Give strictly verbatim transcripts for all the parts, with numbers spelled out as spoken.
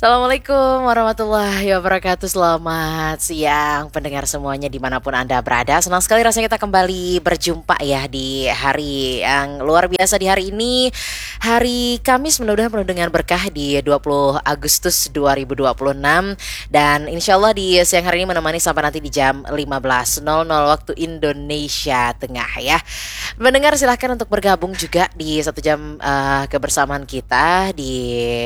Assalamualaikum warahmatullahi wabarakatuh. Selamat siang pendengar semuanya dimanapun Anda berada. Senang sekali rasanya kita kembali berjumpa ya di hari yang luar biasa di hari ini. Hari Kamis mudah-mudahan penuh dengan berkah di dua puluh Agustus dua ribu dua puluh enam. Dan insya Allah di siang hari ini menemani sampai nanti di jam lima belas nol nol waktu Indonesia Tengah ya. Mendengar silahkan untuk bergabung juga di satu jam uh, kebersamaan kita di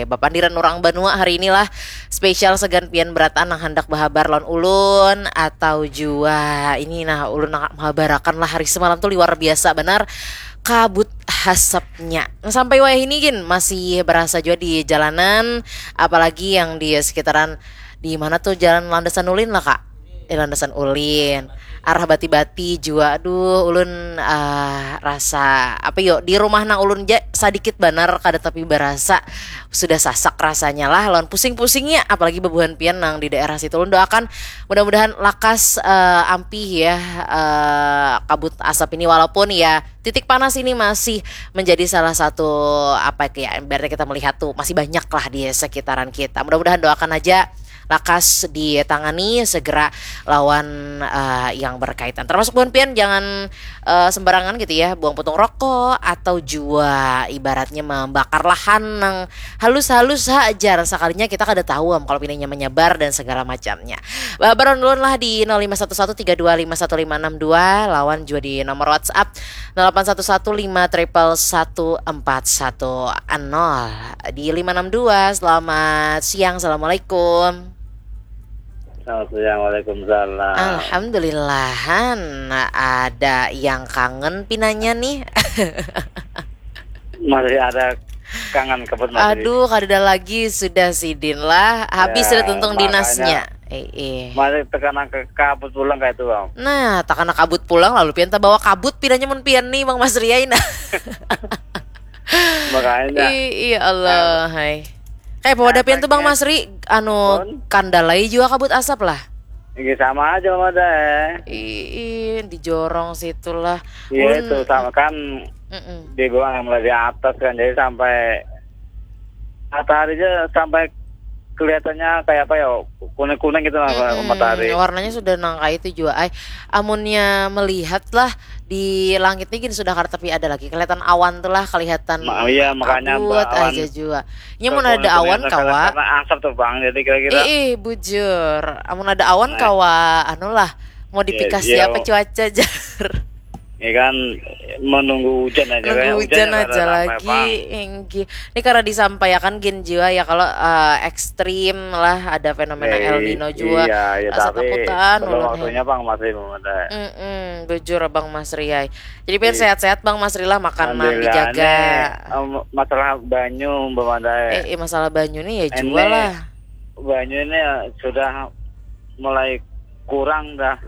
Bapandiran Orang Banua hari inilah spesial segan pian berataan yang hendak berhabar lawan ulun atau jua ini nah ulun nak menghabarakan lah hari semalam tuh luar biasa benar kabut hasapnya sampai wayah ini gin masih berasa juga di jalanan apalagi yang di sekitaran di mana tuh jalan landasan ulin lah kak eh, landasan ulin arah bati-bati jua aduh ulun uh, rasa apa yo di rumah nang ulun ja sedikit banar kada tapi berasa sudah sasak rasanya lah lawan pusing-pusingnya apalagi bebuhan pian nang di daerah situ ulun doakan mudah-mudahan lakas uh, ampih ya uh, kabut asap ini walaupun ya titik panas ini masih menjadi salah satu apa ya berarti kita melihat tuh masih banyak lah di sekitaran kita mudah-mudahan doakan aja lakas ditangani segera lawan uh, yang berkaitan. Termasuk buhan pian jangan uh, sembarangan gitu ya, buang putung rokok atau jua ibaratnya membakar lahan nang halus-halus hajar sekalinya kita kada tahu am kalau pinanya menyebar dan segala macamnya. Baron dulu lah di nol lima satu satu tiga dua lima satu lima enam dua lawan juga di nomor WhatsApp nol delapan satu satu lima triple satu empat satu nol di lima enam dua. Selamat siang. Assalamualaikum. Selamat siang. Waalaikumsalam. Alhamdulillahan ada yang kangen pinanya nih. Masih ada kangen kebut masih. Aduh, kada lagi sudah sidin lah. Habis ya, sudah tuntung dinasnya. Eh, eh. Masih terkena ke kabut pulang kayak itu, Bang. Nah, terkena kabut pulang lalu pian bawa kabut pinanya mun pian nih, Bang Mas Riai nah. Makanya. Iya Allah, hai. Kayak pemuda pian tuh Bang Masri, anu kandalai juga kabut asap lah. Iya sama aja sama ada. Ih, di jorong situlah. Iya itu sama kan. Mm -mm. Di bawah yang mulai di atas kan jadi sampai matahari aja sampai kelihatannya kayak apa ya kuning-kuning gitu lah mm -mm. Matahari. Warnanya sudah nangka itu juga. Ay, amunnya melihat lah di langit ini gini sudah kada tapi ada lagi kelihatan awan tuh lah kelihatan Ma iya, makanya kabut aja juga. Nya mun ada awan kawa. Karena asap tuh bang, jadi kira-kira. Ih, ih bujur. Amun ada awan nah. Kawa, anu lah modifikasi iya, iya, apa cuaca jar. Ya kan menunggu hujan aja. Menunggu hujan, hujan aja lagi. Ini karena disampaikan gin jiwa ya kalau uh, ekstrim lah ada fenomena eh, El Nino juga. Iya, iya, tapi takutan waktunya bang masih belum ada. Mm -mm, bujur bang Mas Riai. Jadi biar iya. Sehat-sehat bang Mas Rila makanan dijaga. Nih, masalah banyu belum ada. Eh, eh masalah banyu nih ya juga lah. Banyu ini sudah mulai kurang dah.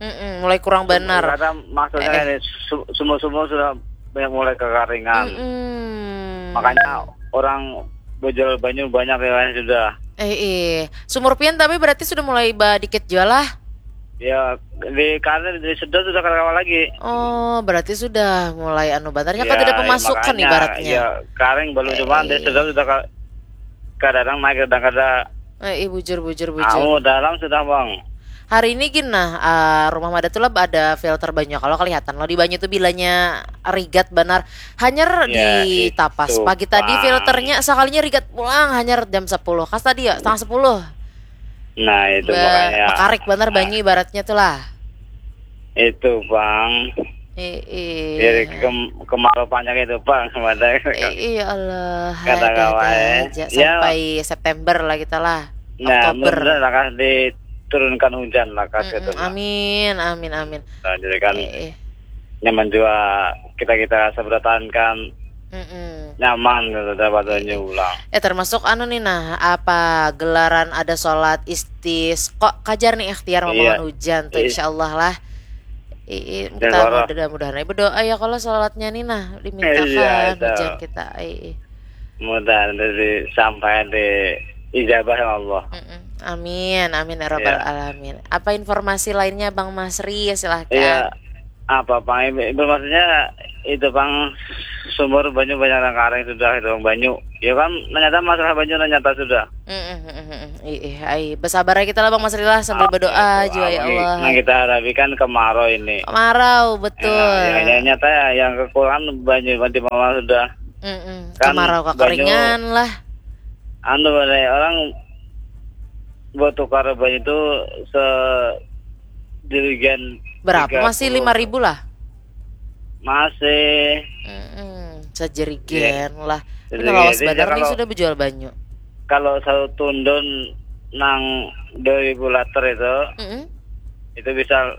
Mm -mm, mulai kurang benar. Maksudnya eh, eh. Sumur-sumur sudah banyak mulai kekaringan. Mm -mm. Makanya orang berjual banyu banyak ya sudah. Eh, eh. Sumur pian tapi berarti sudah mulai dikit jual lah. Ya, di karir di sedot sudah kawan lagi. Oh, berarti sudah mulai anu bantarnya ya, kan tidak pemasukan makanya, ibaratnya. Ya, karing belum eh, cuma eh. Di sedot sudah kadang naik kadang kada. Eh, eh, bujur bujur bujur. Kamu dalam sudah bang. Hari ini gin nah uh, rumah mada tuh lah ada filter banyu. Kalau kelihatan lo di banyu tuh bilanya rigat benar. Hanyar ya, di tapas. Pagi tadi filternya sekalinya rigat pulang hanyar jam sepuluh. Kas tadi ya setengah sepuluh. Nah, itu ba makanya. Makarik benar banyu ibaratnya tuh lah. Itu bang. Eh, eh. Jadi ke kemarau panjang itu bang, kemana? Eh, iya Allah. Kata kawan. Ya. Sampai September lah kita lah. Nah, mudah-mudahan akan diturunkan hujan lah kasih mm -mm, amin, amin, amin. Nah, jadi kan eh, eh. Nyaman juga kita kita seberatan kan mm -mm. Nyaman gitu dapat banyu ulang. Eh termasuk anu nih nah, apa gelaran ada sholat istis kok kajar nih ikhtiar memohon iya. Hujan tuh iya. Insya Allah lah. Iya, kita mudah-mudahan aja berdoa ya kalau sholatnya nih nah dimintakan iya, hujan kita. Iya. Mudah-mudahan sampai di ijabah ya Allah. Mm -mm. Amin, amin ya rabbal ya. Alamin. Apa informasi lainnya Bang Masri? Silahkan. Iya. Apa pang, ibu, ibu, maksudnya itu pang sumur banyu banyak nang karing sudah itu banyu. Ya kan, ternyata masalah banyu nang nyata sudah. Mm-mm, mm-mm, mm-mm. Ih, ih, ai. Bersabar ya kita lah, Bang Mas Rila, sambil berdoa aja, ya Allah. Nah, kita hadapi kan kemarau ini. Kemarau, betul. Ya, ya, ya, nyata ya, yang kekurangan banyu, banti mama sudah. Mm-mm. Kan kemarau, banyu, kekeringan lah. Anu, orang bertukar banyu itu sejerigen. Berapa? Masih lima ribu lah? Masih. Mm-mm. Sejerigen lah. Sejerigen. Ini lawas banar nih kalau sudah berjual banyu. Kalau satu tundun nang dua ribu liter itu, mm-mm, itu bisa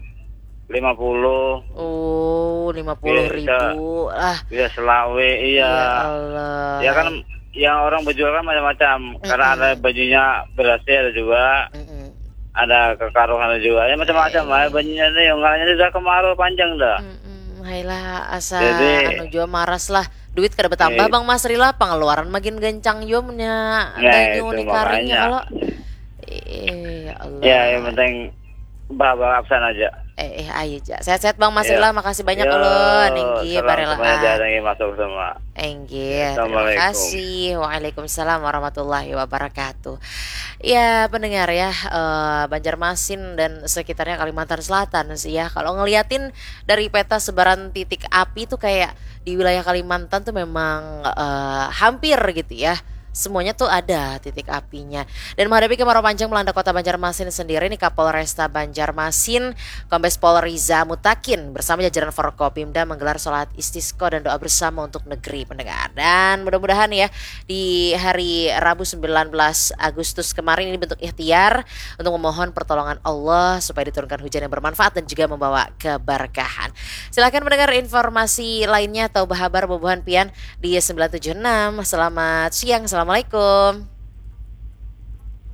lima puluh. Oh, lima puluh ribu lah. Bisa selawe, iya. Ya Allah. Ya kan, yang orang berjual kan macam-macam. Mm-mm. Karena ada bajunya berasnya ada juga. Mm-mm. Ada kekaruhan juga. Ya macam-macam lah. Eh. Bajunya itu yang ngalanya sudah kemarau panjang dah. Mm-mm. Hailah, asa jadi, anu jua maras lah. Duit kada bertambah, eh, Bang Mas Rila, pengeluaran makin gancang jua munnya, nah, banyu itu ni karingnya makanya. Kalau. Eh, ya Allah. Ya, yang penting bawa absen aja. Eh, eh, ayo aja. Sehat-sehat, Bang Mas Rila, makasih banyak ulun. Inggih, salam semuanya, inggih, masuk semua. Inggih, terima kasih. Assalamualaikum. Waalaikumsalam warahmatullahi wabarakatuh. Ya, pendengar ya, eh, Banjarmasin dan sekitarnya Kalimantan Selatan sih ya. Kalau ngeliatin dari peta sebaran titik api tuh kayak di wilayah Kalimantan tuh memang, eh, hampir gitu ya. Semuanya tuh ada titik apinya. Dan menghadapi kemarau panjang melanda kota Banjarmasin sendiri nih, Kapolresta Banjarmasin, Kombes Pol Riza Mutakin bersama jajaran Forkopimda menggelar sholat istisqa dan doa bersama untuk negeri, pendengar. Dan mudah-mudahan ya, di hari Rabu sembilan belas Agustus kemarin ini bentuk ikhtiar untuk memohon pertolongan Allah supaya diturunkan hujan yang bermanfaat dan juga membawa keberkahan. Silahkan mendengar informasi lainnya atau berhabar bubuhan pian di sembilan tujuh enam. Selamat siang, assalamualaikum.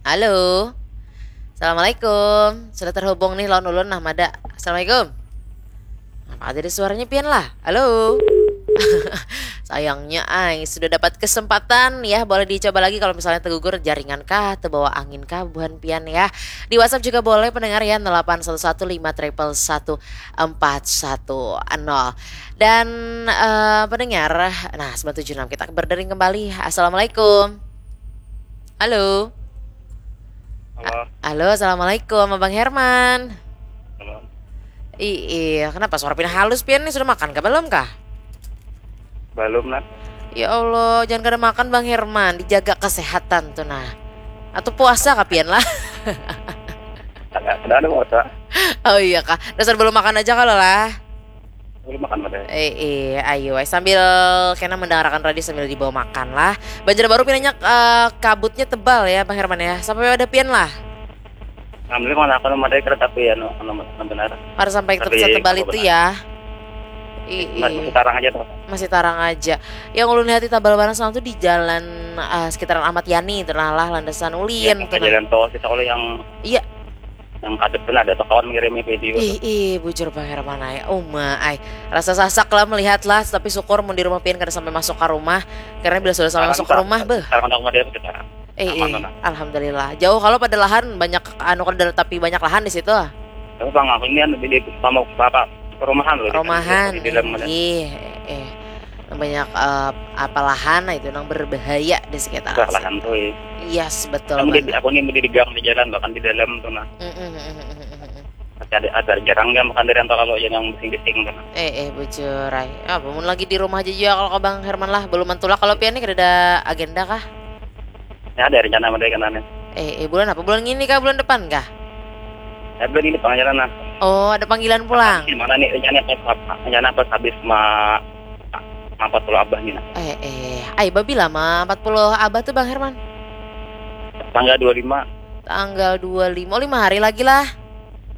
Halo. Assalamualaikum. Sudah terhubung nih lawan ulun nah, mada. Assalamualaikum. Apa ada suaranya pian lah? Halo. Sayangnya, ai, sudah dapat kesempatan ya, boleh dicoba lagi kalau misalnya tegugur jaringan kah, terbawa angin kah, buhan pian ya. Di WhatsApp juga boleh pendengar ya, delapan satu satu lima triple satu empat satu nol. Dan, eh, pendengar, nah, sembilan tujuh enam kita berdering kembali. Assalamualaikum. Halo. Halo. A-, halo, assalamualaikum, Abang Herman. Halo. Ih, iya, kenapa suara pian halus pian nih? Sudah makan kah? Belum kah? Belum, Nat. Ya Allah, jangan kada makan, Bang Herman. Dijaga kesehatan tuh, nah. Atau puasa kah pian lah? Kada, kada ada puasa. Oh iya kah? Dasar belum makan aja kalau lah. Belum makan pada. Eh, eh, ayo, ai. Sambil kena mendengarkan radio sambil dibawa makan lah. Banjarbaru pinanya, eh, kabutnya tebal ya, Bang Herman ya. Sampai ada pian lah. Alhamdulillah, mana aku nama ada kereta api ya, no, no, no, benar. Harus sampai tapi setebal itu benar. Ya. Ih, masih, ih, tarang aja tuh. Masih tarang aja. Yang ulun lihat di Tabalbaran Barat Selatan tuh di jalan, eh, sekitaran Ahmad Yani itu nah lah, landasan ulin. Iya, tuh nah. Jalan tol kita kalau yang, iya, yang kadet tuh ada tuh kawan ngirimi video. Ih, tuh. Ih, bujur Bang Herman ai. Uma ai. Rasa sasak lah melihat lah, tapi syukur mun di rumah pian kada sampai masuk ke rumah. Karena bila sudah sampai masuk ke rumah, beh. Sekarang aku mau dia sekarang. Eh, eh, aman, aman. Alhamdulillah. Jauh kalau pada lahan banyak anu kada, tapi banyak lahan di situ. Tapi Bang, aku ini kan di, di sama apa, perumahan loh, di, perumahan, di dalam, iya, eh, eh. Banyak, eh, apa, lahan itu nang berbahaya di sekitar situ. Lahan tuh, iya. Yes, betul banget. Aku ini di, di gang di jalan, bahkan di dalam tuh nah. Mm, mm, mm. Tapi ada, ada jarang ya makan dari antara lo yang bising-bising tuh nah. Eh, eh, bujur ai. Ah, mun lagi di rumah aja juga kalau ke Bang Herman lah, belum mantulak kalau pian nih kada ada agenda kah? Ya, ada rencana mah dari kanannya. Eh, eh, bulan apa? Bulan ini kah? Bulan depan kah? Ya, bulan ini pengajaran nah. Oh, ada panggilan pulang. Gimana nih rencana pas apa? Rencana pas habis ma, ma empat puluh abah nih nah. Eh, eh, ai babila ma empat puluh abah tuh Bang Herman? Tanggal dua lima. Tanggal dua lima. Oh, lima hari lagi lah.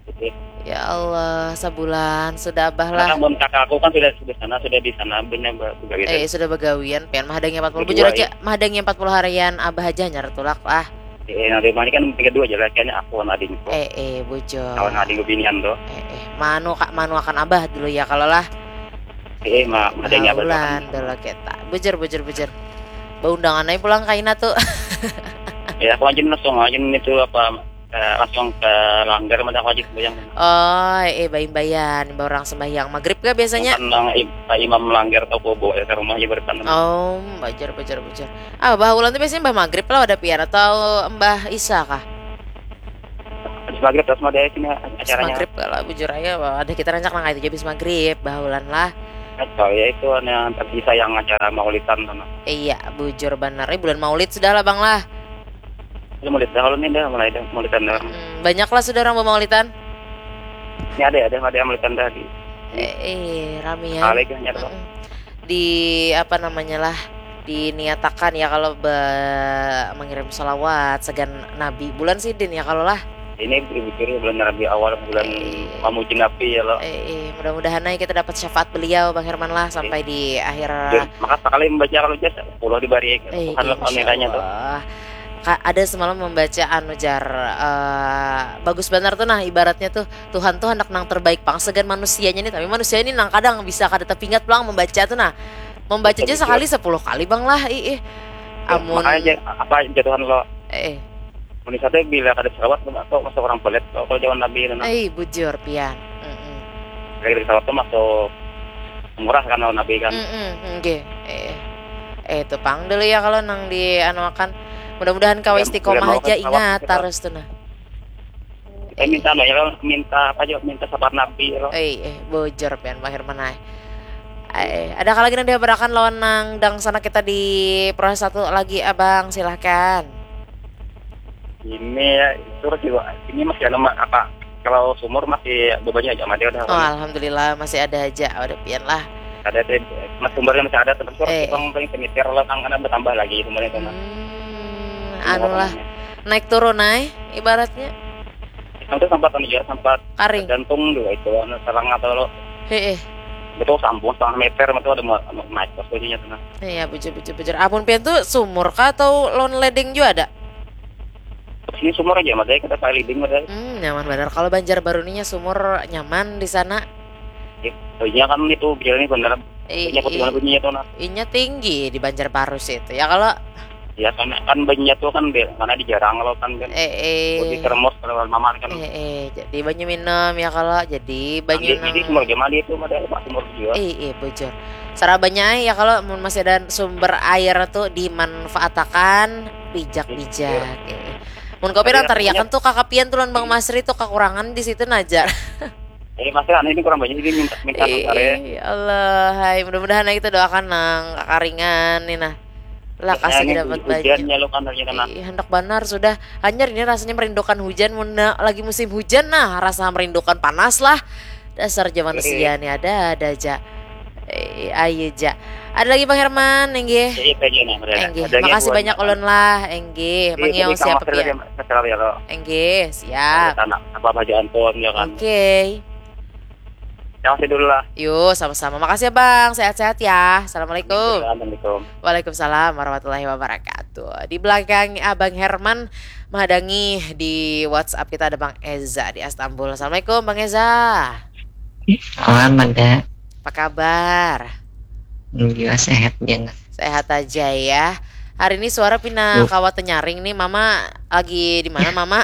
Oke. Ya Allah, sabulan sudah abah lah. Karena mun kakak aku kan sudah, sudah sana, sudah di sana, punya be-, begawi. Eh, sudah begawian, pian mahadangi empat puluh. Bujur aja, mahadangi empat puluh harian abah aja hanyar tulak lah. Eh, nanti mana kan tiga dua aja lah, kayaknya aku sama adikku. Eh, eh, bujur. Kawan adik binian tuh. Eh, eh, manu kak, manu akan abah dulu ya kalau lah. Eh, ma-, mahadangi abah dulu kan. Dulu kita. Bujur, bujur, bujur. Baundangan aja pulang kaina tuh. Ya, aku aja langsung aja itu apa, Ke, langsung ke langgar, mada wajib sembahyang. Oh, eh, baimbayan, imbah orang sembahyang maghrib kah biasanya? Bukan nang im, imam langgar atau kubu ya, ke rumah aja berpan. Oh, bajar, bajar, bajar. Ah, bah ulan tuh biasanya mbah maghrib lah ada pian atau mbah isa kah? Habis maghrib terus mau dari sini acaranya. Maghrib lah, bujur aja, ada kita rancak nang itu aja habis maghrib, bah ulan lah. Atau ya itu yang tersisa yang acara maulitan sana. Iya, bujur benar. Eh, bulan maulid sudah lah bang lah. Ini mulai dah kalau ini dah mulai dah mulai dah. Hmm, banyak lah sudah orang bermaulitan. Ini ada ya, ada ada yang mulai dah di. Eh, eh rame ya. Kali kan nyata. Hmm. Di apa namanya lah, diniatakan ya kalau be, mengirim salawat segan Nabi bulan sidin ya kalau lah. Ini berpikir bulan Rabi awal bulan eh, memuji Nabi ya lo. Eh, eh, mudah-mudahan aja kita dapat syafaat beliau Bang Herman lah sampai eh. Di akhir. Maka sekali membaca kalau jas puluh dibari. Eh, Tuhan lo nilainya tuh. Ada semalam membaca anu jar uh, bagus benar tuh nah ibaratnya tuh Tuhan tuh hendak nang terbaik pang segan manusianya nih tapi manusia ini nang kadang bisa kada tepingat pulang membaca tuh nah membaca aja sekali sepuluh kali bang lah ih, ih. Ya, amun makanya apa aja Tuhan lo eh, eh. Mun satu bila kada selawat tuh masuk orang pelit kalau jawaban nabi itu nah. Eh bujur pian. Mm -mm. Lagi selawat tuh masuk murah kan lawan nabi kan. Mm -mm. Okay. Eh. Eh itu pang dulu ya kalau nang di anu akan. Mudah-mudahan kau istiqomah aja ingat terus tuh nah. Kita minta anu ya minta apa aja minta sabar nabi ya. Eh, eh bujur pian Bang Herman ay. Eh, ada lagi nang dihabarakan lawan nang dang sana kita di proses satu lagi abang silahkan. Ini ya, itu juga ini masih ada apa kalau sumur masih bebannya aja mati udah. Oh, alhamdulillah masih ada aja. Udah pian lah. Ada deh, mas sumbernya masih ada terus eh. Bang paling semitir lah kan karena bertambah lagi sumbernya itu. Hmm, anu lah. Naik turun naik ibaratnya. Itu sempat anu ya, sempat Karing. Tergantung dulu itu anu serang atau lo. Heeh. Betul sambung setengah meter itu ada mau anu, naik pas posisinya tuh. Iya, bujur bujur bujur. Amun pian tuh sumur kah atau lawan ledeng juga ada? Ini sumur aja, makanya kita pakai ledeng ada. Hmm, nyaman benar. Kalau Banjar Baru ininya sumur nyaman di sana. Iya kan itu biar ini benar. Iya, iya. Bunyinya tuh nah. Inya tinggi di Banjar Baru sih itu. Ya kalau Ya kan kan banyak tuh kan karena di jarang lo kan kan. Eh, eh. Di termos kalau mama kan. Eh, eh. Jadi banyu minum ya kalau jadi banyu. Jadi semua jam itu ada pas umur juga. Eh, eh, bujur. Sarabanya ya kalau masih ada sumber air tuh dimanfaatakan bijak-bijak. Eh. Mun kopi orang teriakan tuh kakapian tuh bang Masri tuh kekurangan di situ najar. Eh, Masri anu ini kurang banyak ini minta minta eh, eh, Allah, hai mudah-mudahan kita doakan nang kakaringan nih nah. Lah kasih dapat banyak. Hujan ya lo kan hari ini. Ih, hendak benar sudah. Hanyar ini rasanya merindukan hujan mun lagi musim hujan nah, rasa merindukan panas lah. Dasar zaman sia nih ada ada aja. Eh, ayo ja. Ada lagi Bang Herman, enggih. Enggih. Makasih banyak ulun lah, enggih. Mangiau siapa pia. Enggih, siap. Apa baju Anton ya kan. Oke. Yang masih dulu lah. Yo, sama-sama. Makasih ya Bang. Sehat-sehat ya. Assalamualaikum. Waalaikumsalam warahmatullahi wabarakatuh. Di belakang Abang Herman menghadangi di WhatsApp kita ada Bang Eza di Istanbul. Assalamualaikum Bang Eza. Selamat ada. Apa kabar? Juga sehat ya. Sehat aja ya. Hari ini suara pina kawat nyaring nih, Mama lagi di mana Mama?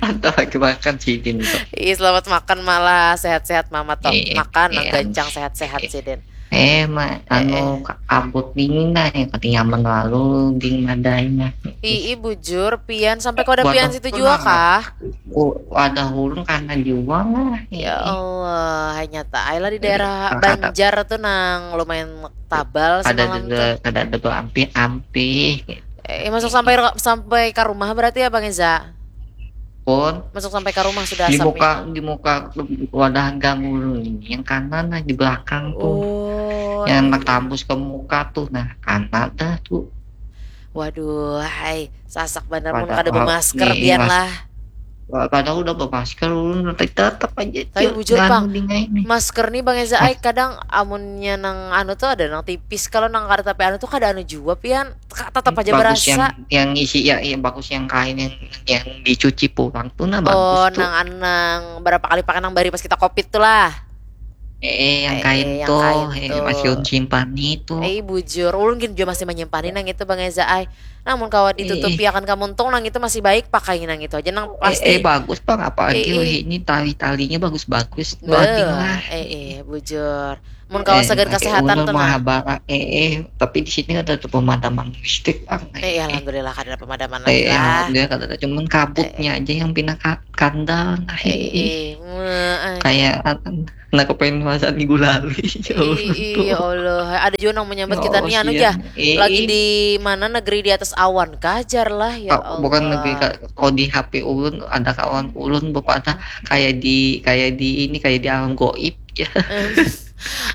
Atau lagi makan sidin tuh. Ih, selamat makan malah sehat-sehat Mama toh. Eh, makan eh, gancang sehat-sehat eh, sidin. Eh, ma, eh, anu eh. Kabut dingin dah ya, kata nyaman lalu dingin adanya. Ih, bujur, pian sampai kau ada pian situ juga kah? Oh, ada ulun karena jual lah. Ya Allah, hanya tak lah di daerah Banjar tuh nang lumayan tabal semalam tuh. Kada ada tuh ampih-ampih. Eh, masuk sampai sampai ke rumah berarti ya Bang Eza? Pun. Masuk sampai ke rumah sudah di muka di muka wadah gang ulun ini yang kanan lah di belakang tuh. Oh, yang iya. Tambus ke muka tuh nah kanan dah tuh. Waduh, hai sasak bener mun kada bermasker biar lah. Padahal udah bermasker ulun tapi tetap aja. Tapi bujur pang, masker nih Bang Eza ai kadang amunnya nang anu tuh ada nang tipis kalau nang kada tapi anu tuh kada anu jua pian tetap aja bagus berasa. Yang, yang isi ya, yang bagus yang kain yang yang dicuci pulang tuh nah bagus. Oh, tuh. Nang anu nang berapa kali pakai nang bari pas kita covid tuh lah. Eh, yang kain tuh, eh, masih ulun simpan itu. Eh, bujur, ulun gin jua masih manyimpani nang itu, Bang Eza ai. Namun kawa ditutupi akan kamuntung nang itu masih baik pakai nang itu aja nang plastik. Eh, eh, bagus Bang, apalagi eh, eh. Ini tali-talinya bagus-bagus. Beuh, eh, eh, bujur. Mun kawa sagan kasehatan tuh nah. Eh, eh, tapi di sini ada tuh pemadaman listrik Bang. Eh, eh, alhamdulillah kada ada pemadaman lagi eh, lah. Alhamdulillah kada ada, cuman kabutnya eh, eh. Aja yang pindah kandal nah. Eh, eh. Eh, eh. Kayak Nah, kepengen masak minggu lalu. Iya Allah. Ada juga nang menyambat kita nih anu ya. Lagi di mana negeri di atas awan kajar lah ya Allah. Bukan negeri kak. Kalau di H P ulun ada kawan ulun bapak kayak di kayak di ini kayak di alam goib ya.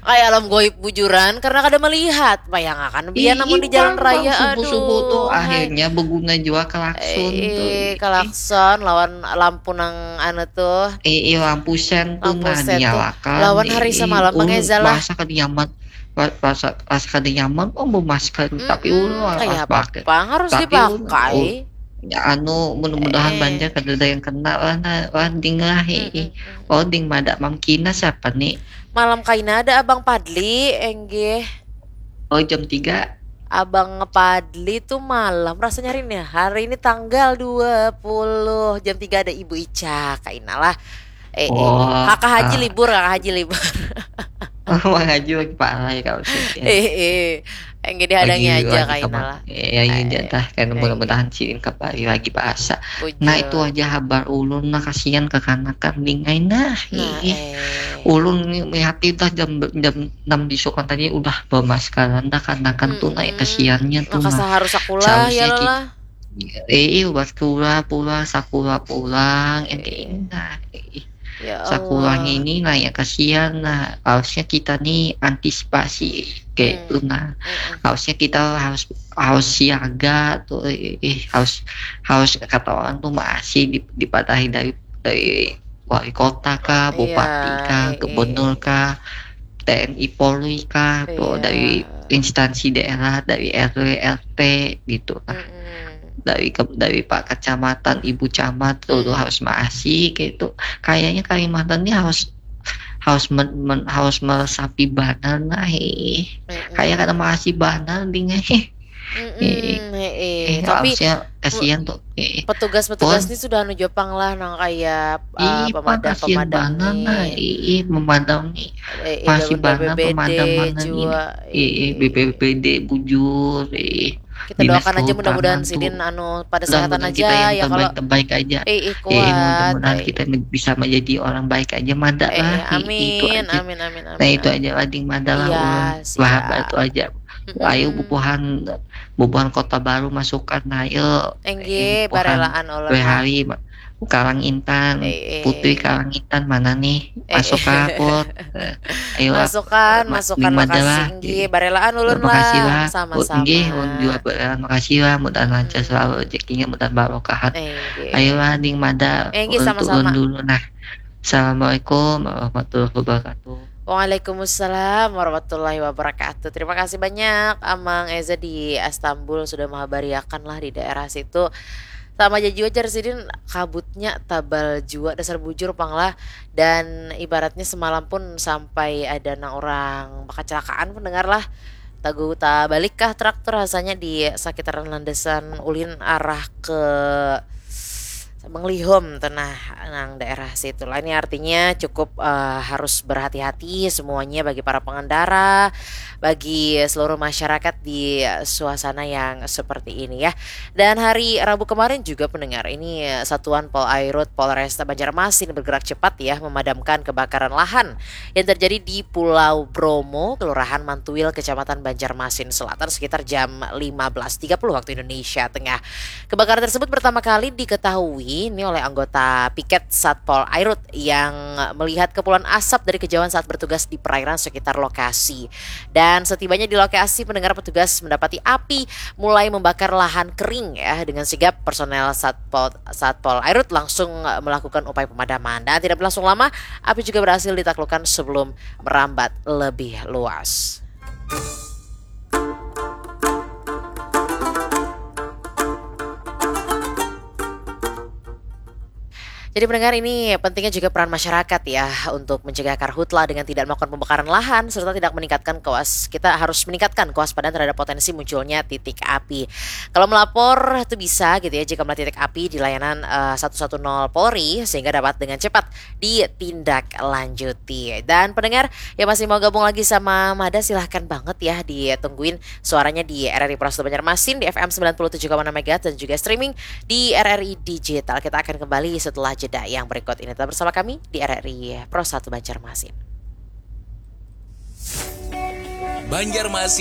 Kayak alam goib bujuran karena kada melihat. Bayangkan biar namun di jalan raya subuh-subuh tuh akhirnya berguna juga kelakson tuh. Kelakson lawan lampu nang anu tuh. Eh, lampu sen tuh. Lampu sen tuh. Lawan hari semalam pakai Zala. Rasa kada nyaman. Rasa rasa kada nyaman oh memasker mm -mm, tapi ulun kayak apa? Harus tapi dipakai. Ya, anu mudah-mudahan eh. Banjar kada ada yang kena lah lah ding lah. Mm -mm. Oh ding mada Mang Kina siapa nih? Malam kaina ada Abang Padli enggih. Oh jam tiga. Abang Padli tuh malam rasanya hari ini. Hari ini tanggal dua puluh jam tiga ada Ibu Ica kaina lah. Eh, oh, eh. Kakak Haji ah. Libur, Kakak Haji libur. Oh, Bang Haji lagi parah ya kalau sih. Eh, eh. Yang jadi hadangi aja kaina lah. Ya, ya, ya, dah. Kan mudah-mudahan sih kembali lagi bahasa. Nah, itu aja habar ulun nah kasihan kekanakan ding ai nah. Nah, eh. Ulun melihat dah jam jam enam bisukan tadi udah bermaskaran dah kanakan tuh naik kasihannya tuh. Maka harus sekolah ya lah. Eh, ubat pula pula sakura pulang eh, nah, eh. Ya Allah. Sakurang ini nah ya kasihan nah harusnya kita nih antisipasi kayak hmm. Itu nah hmm. Harusnya kita harus harus siaga tuh eh, eh harus harus kata orang tuh masih dipatahi dari dari wali kota kah, iya, bupati kah, iya, gubernur kah, T N I Polri kah, iya. Tuh dari instansi daerah, dari R W R T gitu lah. Mm -mm. Dari dari Pak Kecamatan, Ibu Camat tuh, mm. Tuh harus maasi gitu. Kayaknya Kalimantan ini harus harus men, men, harus meresapi banar nah eh. Mm -mm. Kayak kada maasi banar ding eh. Mm -mm, eh, eh. Tapi harusnya kasihan tuh eh. Petugas-petugas ini sudah anu jopang lah nang kayak uh, pemadam-pemadam nih. Nah, eh, eh, pemadam nih. Eh, eh, masih banyak pemadam juga. Eh, eh, B P B D bujur eh. Kita doakan aja mudah-mudahan sidin anu pada kesehatan aja ya kalau terbaik aja. Eh, eh, kuat. Eh, mudah-mudahan eh. Kita bisa menjadi orang baik aja mada eh, lah. Eh, amin, eh, itu aja. Amin, amin, amin. Nah, itu aja lah ding mada lah. Iya, wah, itu aja. Ayo bubuhan bubuhan Kota Baru masukan nah ayo. Enggih, barelaan ulun. Dua hari Karang Intan, eh, eh. Putri Karang Intan mana nih? Eh, masuk eh. Kaput. Ayo masukan, masukan makasih enggih, barelaan ulun lah. Makasih lah. Sama-sama. Enggih, ulun juga barelaan makasih lah, mudahan lancar hmm. Selalu rezekinya, mudahan barokahan. Enggih. Ayo lah ding mada. Enggih, sama-sama. Dulu nah. Assalamualaikum warahmatullahi wabarakatuh. Waalaikumsalam warahmatullahi wabarakatuh. Terima kasih banyak Amang Eza di Istanbul sudah mengabariakan lah di daerah situ. Sama aja juga jar sidin kabutnya tabal jua dasar bujur pang lah. Dan ibaratnya semalam pun sampai ada nang orang kecelakaan pendengar lah. Tagu tabalik kah traktor rasanya di sekitaran landasan ulin arah ke Menglihum tenah nang daerah situ lah. Ini artinya cukup uh, harus berhati-hati semuanya bagi para pengendara, bagi seluruh masyarakat di suasana yang seperti ini ya. Dan hari Rabu kemarin juga pendengar ini Satuan Polairut Polresta Banjarmasin bergerak cepat ya memadamkan kebakaran lahan yang terjadi di Pulau Bromo, Kelurahan Mantuil, Kecamatan Banjarmasin Selatan sekitar jam lima belas tiga puluh waktu Indonesia Tengah. Kebakaran tersebut pertama kali diketahui ini oleh anggota piket Satpol Airut yang melihat kepulan asap dari kejauhan saat bertugas di perairan sekitar lokasi. Dan setibanya di lokasi, pendengar petugas mendapati api mulai membakar lahan kering ya. Dengan sigap personel Satpol Satpol Airut langsung melakukan upaya pemadaman dan tidak berlangsung lama api juga berhasil ditaklukkan sebelum merambat lebih luas. Jadi pendengar, ini pentingnya juga peran masyarakat ya untuk mencegah karhutla dengan tidak melakukan pembakaran lahan serta tidak meningkatkan kewas kita harus meningkatkan kewaspadaan terhadap potensi munculnya titik api. Kalau melapor itu bisa gitu ya jika melihat titik api di layanan uh, satu satu nol Polri sehingga dapat dengan cepat ditindaklanjuti. Dan pendengar yang masih mau gabung lagi sama Mada, silahkan banget ya ditungguin suaranya di R R I Pro satu Banjarmasin di F M sembilan puluh tujuh koma enam megahertz dan juga streaming di R R I Digital. Kita akan kembali setelah jeda yang berikut ini. Tetap bersama kami di R R I Pro satu Banjarmasin. Banjarmasin